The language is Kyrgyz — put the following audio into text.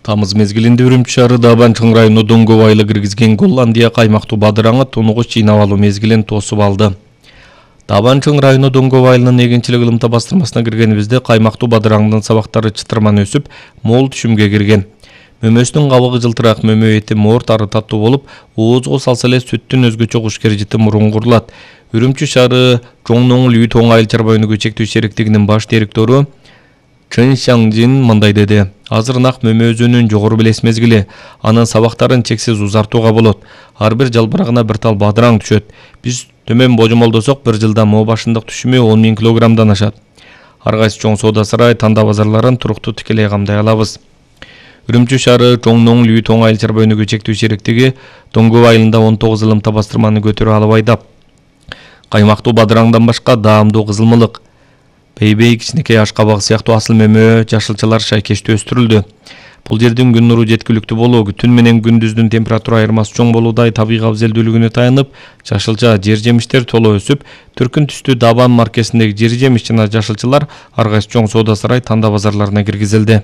Тамыз мезгилинде Үрүмчү шаары Дабан чоң району Доңгов айылы киргизген Голландия каймактуу бадыраңы тунугуч жыйнап алуу мезгилин тосуп алды. Дабан чоң району Доңгов айылынын эгинчилик ылымта бастырмасына киргенибизде каймактуу бадыраңдын сабактары чытырман өсүп, мол түшүмгө кирген. Мөмөсүнүн кабыгы жылтыраак, мөмө эти моор тары таттуу болуп, оозго салса эле сүттүн өзгөчө кушкер жыты муруңгурулат. Үрүмчү шаары Чоң Лүй Тоң айыл чарба өнүгүү чектөө сериктигинин баш директору Чын Шаңжин мындай деди. Азыр нак мөмө өзүнүн жогору белес мезгили, анын сабактарын чексиз узартууга болот. Ар бир жалбырагына бир тал бадыраң түшөт. Биз төмөн божомолдосок, бир жылда моо башындык түшүмү 10 000 килограммдан ашат. Ар кайсы чоң соода сарай, танда базарларын туруктуу тикелей камдай алабыз. Үрүмчү шаары Чоң Лүй Тоң айыл чарба өнүгүү чектөө сериктиги Доңгов айылында 19 ылымта бастырманы көтөрүп алып айдап. Каймактуу бадыраңдан башка даамдуу кызылмылык, бейбей, кичинекей ашкабак сыяктуу асыл мөмө, жашылчалар шайкештүү өстүрүлдү. Бул жердин күн нуру жеткиликтүү болуу, түн менен күндүздүн температура айырмасы чоң болуудай табигый абзелдүүлүгүнө таянып, жашылча жер жемиштер толо өсүп, түркүн түстүү Дабан маркесиндеги жер жемиш жана жашылчалар ар кайсы чоң соода сарай, танда базарларына киргизилди.